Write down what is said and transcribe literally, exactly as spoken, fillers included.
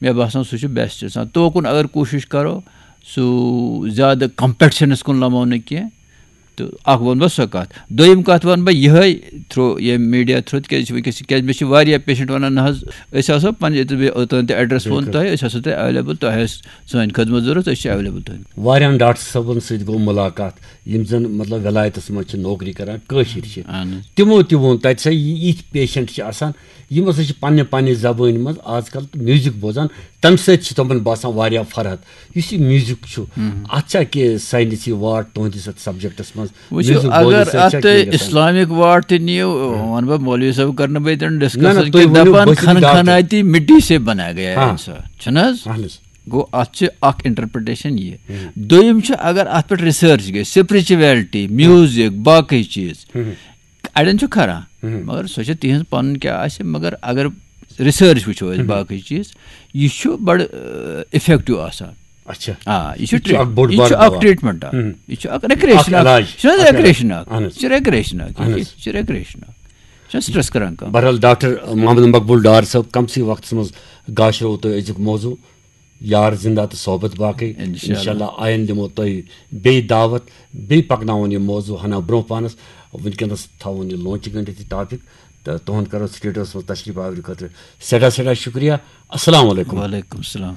مےٚ باسان سُہ چھُ بیسٹ آسان۔ توکُن اگر کوٗشِش کَرو، سُہ زیادٕ کمپِٹشنَس کُن لَمو نہٕ کینٛہہ، تہٕ اَکھ وَنہٕ بہٕ سۄ کَتھ۔ دوٚیِم کَتھ وَنہٕ بہٕ یِہوٚے تھرٛوٗ، ییٚمہِ میٖڈیا تھرٛوٗ، تِکیٛازِ وٕنکیٚس چھِ، کیٛازِ مےٚ چھِ واریاہ پیشنٹ وَنان، نہ حظ، أسۍ آسو پنٛنہِ، ییٚتہِ مےٚ اوٚتام تہِ ایڈرَس ووٚن بِلکُل۔ تۄہہِ، أسۍ آسو تۄہہِ ایویلیبل، تۄہہِ آسہِ سٲنۍ خدمت ضوٚرَتھ، أسۍ چھِ ایویلیبل تۄہہِ۔ واریاہَن ڈاکٹر صٲبَن سۭتۍ گوٚو مُلاقات، یِم زَن مطلب وِلایتَس منٛز چھِ نوکری کَران، کٲشِرۍ چھِ۔ اہن حظ۔ تِمو تہِ ووٚن، تَتہِ چھِ یِتھۍ پیشنٹ چھِ آسان، یِم ہسا چھِ پننہِ پننہِ زبٲنۍ منٛز آز کل میوزک بوزان، تمہِ سۭتۍ چھِ تِمن باسان واریاہ فرحت۔ یُس یہِ میوزک چھُ، اتھ چھا کینٛہہ ساینسی واٹ تُہنٛدِس اتھ سبجیکٹس منٛز؟ وٕچھِو، میوزک بوزنہٕ اگر سۭتۍ اتھ چھا تُہۍ کینٛہہ گژھان؟ اسلامک واٹ تہِ نِیِو، ونہٕ بہٕ، مولوی صٲب کرنہٕ بہٕ ییٚتٮ۪ن نہ، نہ، ڈسکس تُہۍ کہِ ؤنِو، دپان بہٕ چھُس خن ڈاکٹر۔ خناتی مٹی سے بنایا گیا ہاں۔ انسان، چھُنہٕ حظ؟ اہن حظ۔ گوٚو، اتھ چھِ اکھ انٹرپریٹیشن یہِ۔ دوٚیِم چھُ، اگر اتھ پٮ۪ٹھ ریسرچ گژھِ، سپرچویلٹی، میوزک، باقٕے چیٖز، اڑٮ۪ن چھُ کھران، مگر سۄ چھِ تِہنٛز پنُن کیٛاہ آسہِ، مگر اگر ریسرچ وٕچھو أسۍ، باقٕے چیٖز، یہِ چھُ بڑٕ افیکٹو آسان۔ اچھا۔ آ، یہِ چھُ یہِ چھُ اکھ ٹریٹ-، بوٚڑ یہِ بار چھُ اکھ دوا۔ ٹریٹمنٹ اکھ۔ یہِ چھُ اکھ ریکریشن اکھ اکھ۔ علاج۔ یہِ چھُنہٕ حظ اکھ علاج۔ ریکریشن اکھ؟ اہن حظ۔ یہِ چھُ ریکریشن اکھ۔ اہن یہِ حظ۔ چھُ ریکریشن اکھ۔ یہِ چھُنہٕ سٹریس کران کم۔ بہرحال، ڈاکٹر محمد مقبول ڈار صٲب، کم سی وقتس منٛز گاشرو تُہۍ أزیُک موضوع یار زندہ تہٕ صحبت باقٕے۔ انشاءاللہ۔ انشاءاللہ آیندٕ دِمو تۄہہِ بیٚیہِ دعوت، بیٚیہِ پکناوون یہِ موضوع ہنا برونٛہہ پانس۔ وٕنکیٚنس تھاوون یہِ لونچہِ گٔنڈِتھ یہِ ٹاپک، تہٕ تُہُنٛد کرو سٹوڈیوس منٛز تشریف آوری خٲطرٕ سٮ۪ٹھاہ سٮ۪ٹھاہ شُکریہ۔ السلام علیکم۔ وعلیکم السلام۔